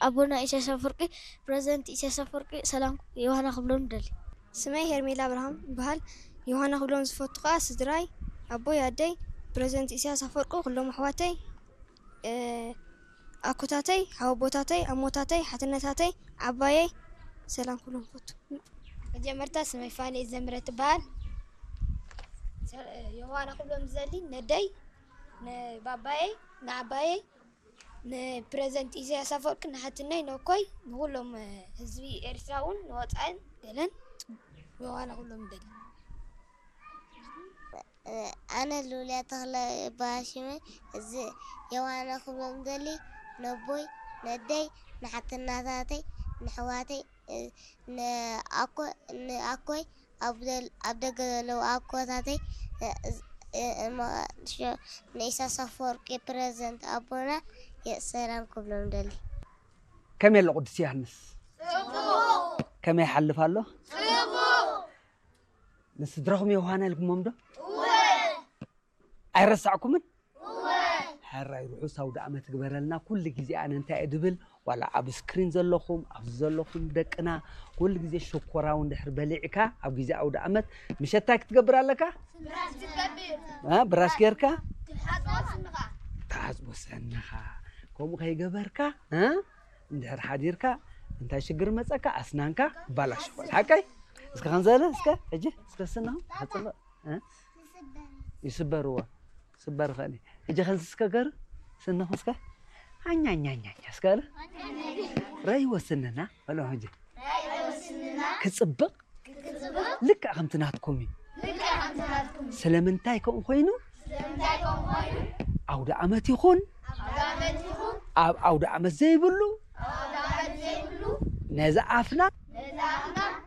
ኣቦና ኢሳያስ ኣፈወርቂ፣ ፕረዚደንት ኢሳያስ ኣፈወርቂ ሰላም ዮሃና ክብሎም ንደሊ። ስመይ ሄርሜላ ኣብርሃም ይበሃል። ዮሃና ክብሎም ዝፈቱ ከኣ ስድራይ፣ ኣቦይ፣ ኣደይ፣ ፕረዚደንት ኢሳያስ ኣፈወርቂ፣ ኩሎም ኣሕዋተይ፣ እ፣ ኣኮታተይ፣ ሓወቦታተይ፣ ኣሞታተይ፣ ሓትነታተይ፣ ዓባየይ ሰላም ክብሎም ይፈቱ። መጀመርታ ስመይ ፋኔ ዘምረ ትበሃል። ሰ-፣ ዮሃና ክብሎም ዝደሊ ነደይ፣ ንባባየይ፣ ንዓባየይ፣ ንፕረዚደንት ኢሳያስ ኣፈወርቂ፣ ንሓትነይ፣ ነኮይ፣ ንኹሎም ህዝቢ ኤርትራ እውን ንወጻእን ገለን ዮሃና ክብሎም ይደሊ። ኣነ ሉልያ ተኽለ እበሃል ሽመይ። እዚ ዮሃና ክብሎም ደሊ ነቦይ፣ ነደይ፣ ንሓትናታተይ፣ ንሕዋተይ፣ እ፣ ንኣኮ-፣ ንኣኮይ፣ ኣብ ደል-፣ ኣብ ደገ ዘለዉ ኣኮታተይ፣ እ፣ እ፣ እማ-፣ ሸ-፣ ንኢሳያስ ኣፈወርቂ ፕረዚደንት ኣቦና የ-፣ ሰላም ክብሎም ደሊ። ከመይ ኣሎ ቅዱስ ዮሃንስ? ከመይ ይሓልፍ ኣሎ? ንስድራኹም ዮሃና ኢልኩሞም ዶ? ኣይረሳዕኩምን? ሕራይ ርሑስ ኣውደ ዓመት ግበረልና። ኩሉ ግዜ ኣነ እንታይ እየ ድብል፣ ዋላ ኣብ ስክሪን ዘለኹም፣ ኣብዚ ዘለኹም ደቅና፣ ኩሉ ግዜ ሽኮራዊ እንድሕር በሊዕካ፣ ኣብ ግዜ ኣውደ ዓመት ምሸት እንታይ ክትገብር ኣለካ? እ፣ ብራሽ ጌርካ? ትሓጽቦ ስንኻ። ከምኡ ከይገበርካ፣ እ፣ እንድሕር ሓዲርካ፣ እንታይ ሽግር መጸካ? ኣስናንካ ይባላሽ ይኾን። ሓቀይ? እስከ ከምዘለ፣ እስከ፣ ሕጂ፣ እስከ ስንኹም፣ ክጽብቕ፣ እ? ይስበርዎ። ስበር ኸኒ። ሕጂ ኸንዚ እስከ ገር፣ ስንኹም እስከ። ኣኛኛኛኛ እስከ ኣለ። ረይ ወስንና፣ በሎ ሕጂ። ክጽብቕ፣ ልክዕ ከምቲ ናትኩም እዩ። ስለምንታይ ከምኡ ኮይኑ? ኣውደ ዓመት ይኹን፣ ኣብ ኣውደ ዓመት ዘይብሉ፣ ነዚ ኣፍና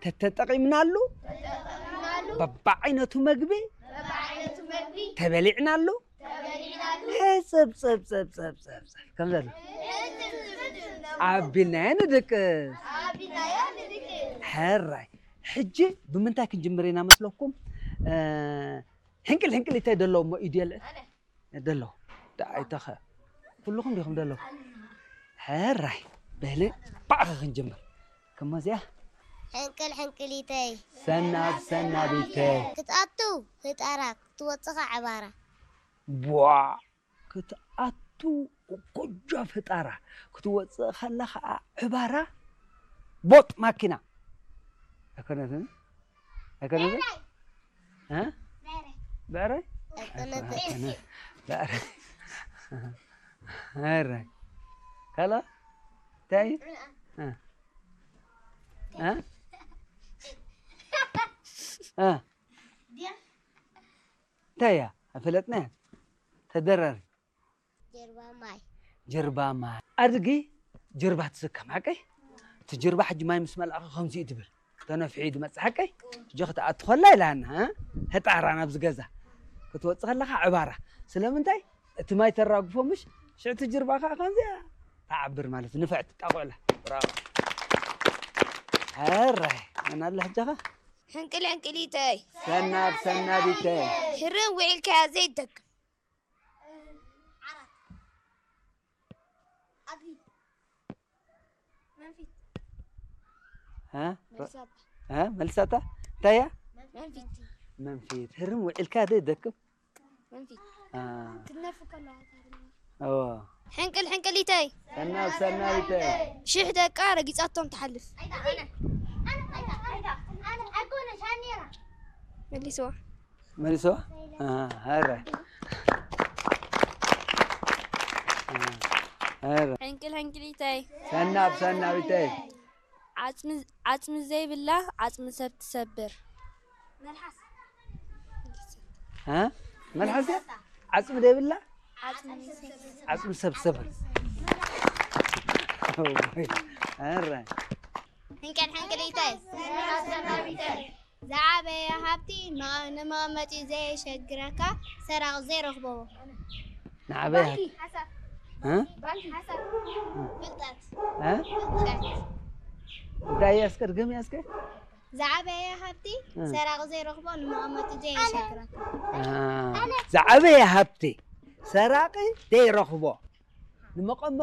ተተጠቒምናሉ፣ በብዓይነቱ መግቢ ተበሊዕናሉ፣ ሕጽብ ጽብ ጽብ ጽብ ጽብ ጽብ ከም ዘሎ ኣቢልናዮ ንድቅስ። ሕራይ። ሕጂ ብምንታይ ክንጅምር ኢና መስለኩም? እ፣ ሕንቅል ሕንቅሊተይ ደለዉ እሞ ኢድ የልዕል። ደለዉ። ደኣ ኣይተኸ-፣ ኩልኹም ዲኹም ደለዉ? ሕራይ። በሊ፣ ባዕኸ ክንጅምር። ከመዚኣ? ሕንቅል ሕንቅሊተይ። ሰናብ ሰናቢተይ። ክትኣቱ ህጣራ፣ ክትወጽኻ ዕባራ። ቧዕ! ክትኣቱ ጎጃ ፈጣራ፣ ክትወጽእ ከላ ኸዓ ዕባራ። ቦጥ ማኪና። ኣይኮነትን? ኣይኮነትን? እ? ብዕራይ? ኣይኮነትን። ኣይኮነትን። ብዕራይ። ብዕራይ። ካላ? እንታይ? እ? እ? እ? እንታይ እያ? ኣይፈለጥናያ። ተደራሪ። ጀርባ ማይ። ጀርባ ማይ። ኣድጊ ጀርባ ትስከም፣ ሓቀይ? እቲ ጀርባ ሕጂ ማይ ምስ መልኣኸ ከምዚ እዩ ትብል። ተነፍሒ እዩ ዝመጽእ፣ ሓቀይ? ሕጂ ክትኣቱ ከላ ኢላና፣ እ? ህጣራ ናብዚ ገዛ። ክትወጽእ ከለኻ ዕባራ። ስለምንታይ? እቲ ማይ ተራግፎ ምሽ? ሽዕቲ ጀርባ ከኣ ከምዚኣ ትዓብር ማለት ንፍዕቲ ጣቑዕላ። ብራቮ። ሕራይ። መን ኣላ ሕጃኻ? ሕንቅል ሕንቅሊተይ። ሰናብ ሰናቢተይ። ህርም ውዒልካያ ዘይደግም። እ? እ? መልሳታ። እንታይ እያ? መንፊት። መንፊት። ህርም ውዒልካ ዘይደክም? መንፊት። አ። ክትነፍ ከላ። እዎ። ሕንቅል ሕንቅሊተይ። ሰናብ ሰናቢተይ። ሽሕ ደቃ ረጊጻቶም ትሓልፍ። መልስዋ። መልስዋ? አ፣ ኧረ። አ፣ ኧረ። ሕንቅል ሕንቅሊተይ። ሰናብ ሰናቢተይ። ዓጽሚ፣ ዓጽሚ ዘይብላ ዓጽሚ ሰብ ትሰብር። እ? መልሓስ እያ? ዓጽሚ ዘይብላ ዓጽሚ ሰብ ትሰብር። ኧረ። ሕንቅል ሕንቅሊተይ። ዝዓበየ ሃብቲ መ-፣ ንመቐመጢ ዘየሸግረካ ሰራቒ ዘይረኽቦ። ንዓበየ ባንኪ። ሃብቲ። ሓሳብ። እ? ባንኪ። ሓሳብ። ፍልጠት። እ? ፍልጠት። እንታይ እያ እስከ ድገምያ እስከ? ዝዓበየ ሃብቲ እ። ሰራቒ ዘይረኽቦ ንመቐመጢ ዘየሸግረካ። እ። ዝዓበየ ሃብቲ ሰራቒ ዘይረኽቦ ንመቐመጢ